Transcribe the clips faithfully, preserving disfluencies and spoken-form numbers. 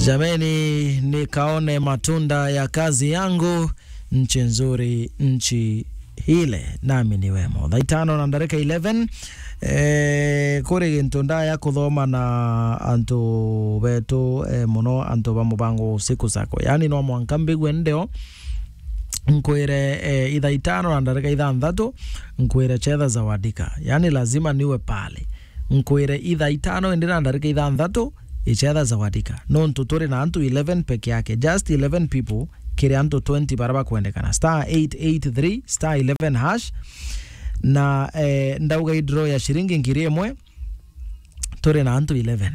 Jameni, nikaone matunda ya kazi yangu, nchi nzuri, nchi ile, nami niwemo. Thaa itano na ndarika eleven, eh, kuri gintu ndaya kuthoma na antu betu, eh, muno antu ba mubango wa usiku sako. Yani, no mwanka mbigue ndeo, nkwire, eh, ithaa itano na ndarika ithanthatu, nkwire chetha zawadika. Yani, lazima niwe pale. Nkwire ithaa itano indi na ndarika ithanthatu, ichetha zawadika. Nontu turi na antu eleven peke yake, just eleven people, kiri antu twenty bara bakwendekana. Star eight eight three, star eleven hash. Na, eh, ndauga i draw ya ciringi ngiri imwe, turi na antu eleven.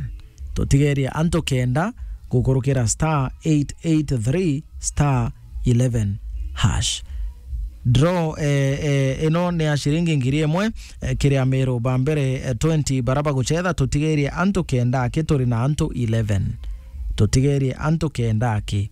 Tutigerie antu kenda gukurukira star eight eight three star eleven hash. Draw, eh, eh, ino ni ya ciringi ngiri imwe, eh, kiri amiru ba mbere, eh, twenty bara baguchetha, tutigerie antu kenda aki, turi na antu eleven. Tutigerie antu kenda aki.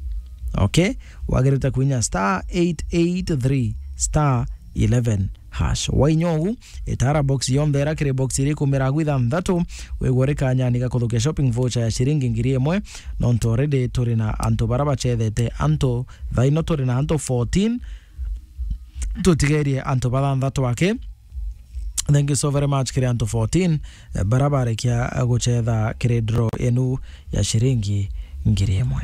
Okay? Wagirite kuinya star eight eight three star eleven hash. Wainya ugu, itara box yonthe ira kiri box iri kumira agu ithanthatu, wigwe uri kanyani ga kuthukia shopping voucher ya ciringi ngiri imwe, nontu already turi na antu bara bachethete antu, thaa ino turi na antu fourteen, tutigerie antu bathanthatu aki. Thank you so very much kiri antu fourteen, eh, bara barekia, eh, guchetha kiri draw inu ya ciringi ngiri imwe.